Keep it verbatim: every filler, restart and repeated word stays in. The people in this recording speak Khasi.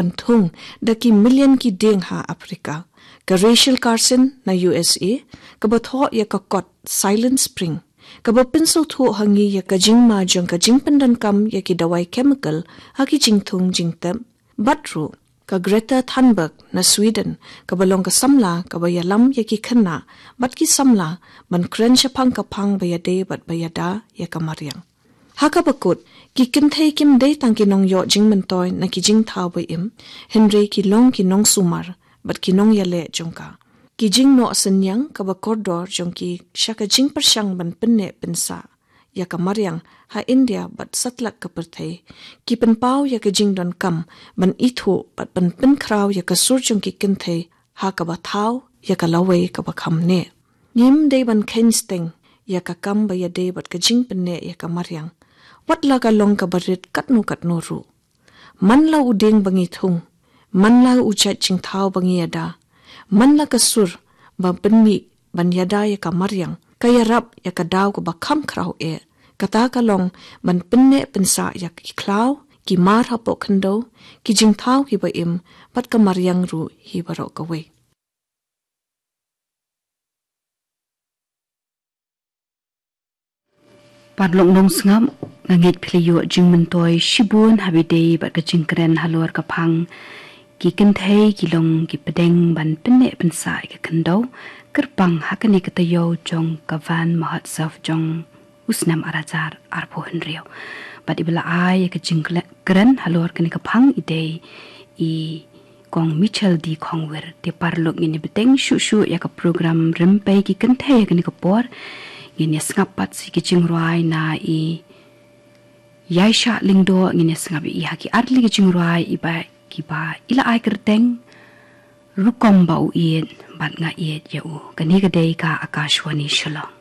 Ban thung da ki million ki dieng ha Africa. Ka Rachel Carson na U S A, kaba thoh ïa ka kot Silent Spring, kaba pynsngewthuh ha ngi ïa ka jingma jong ka jingpyndonkam ïa ki dawai chemical ha ki jingthung jingtep. Bad ruh ka Greta Thunberg na Sweden, kaba long ka samla kaba ïalam ïa ki khynnah bad ki samla ban kren shaphang ka phang ba ïadei bad ba ïada ïa ka mariang. Ha kaba kut, ki kynthei kim dei tang ki nongïoh jingmyntoi na ki jingthaw ba im, hynrei ki long ki nongsumar bad ki nongïaleh jong ka. Ki jingnoh synñiang kaba kordor jong ki sha ka jingpyrshang ban pynneh pynsah ïa ka mariang ha India bad satlak ka pyrthei, ki pynpaw ïa ka jingdonkam ban ithuh bad ban pynkhraw ïa ka sur jong ki kynthei ha kaba thaw ïa ka lawei kaba kham neh. Ngim dei ban kheiñ steng ïa ka kam ba ïadei bad ka jingpynneh ïa ka mariang, wat la ka long kaba rit katno katno ruh. Man la u dieng ba ngi thung, man la u jait jingthaw ba ngi ïada, man la ka sur ba pynmih ban ïada ïa ka mariang, ka ïarap ïa ka daw kaba kham khraw eh. Kata ka long ban pynneh pynsah ïa ki khlaw, ki mar hapoh khyndew, ki jingthaw kiba im, bad ka mariang ruh hi baroh kawei. Paralok nongsngap, nga ngeit phi la ïoh jingmyntoi shibun haba ïadei bad ka jingkren halor ka phang ki kynthei ki long ki pdeng ban pynneh pynsah ïa ka khyndew, kyrpang ha kane ka taïew jong ka Van Mahotsav jong u snem ar hajar arphew hynriew. Bad iba la ai ïa ka jingkren halor kane ka phang i dei i Kong Michel D Khongwir. Te paralok, ngin ïa bteng shuh shuh ïa ka program Rympei ki Kynthei ha kane ka por. Ngin ïa sngap pat sa ki jingrwai na i Ïaishah Lyngdoh, ngin ïa sngap ïa i ha ki artylli ki jingrwai iba kiba i la ai kyrteng Rukom ba u ïeit bad nga ïeit ïa u. Kane ka dei ka Akashvani Shillong.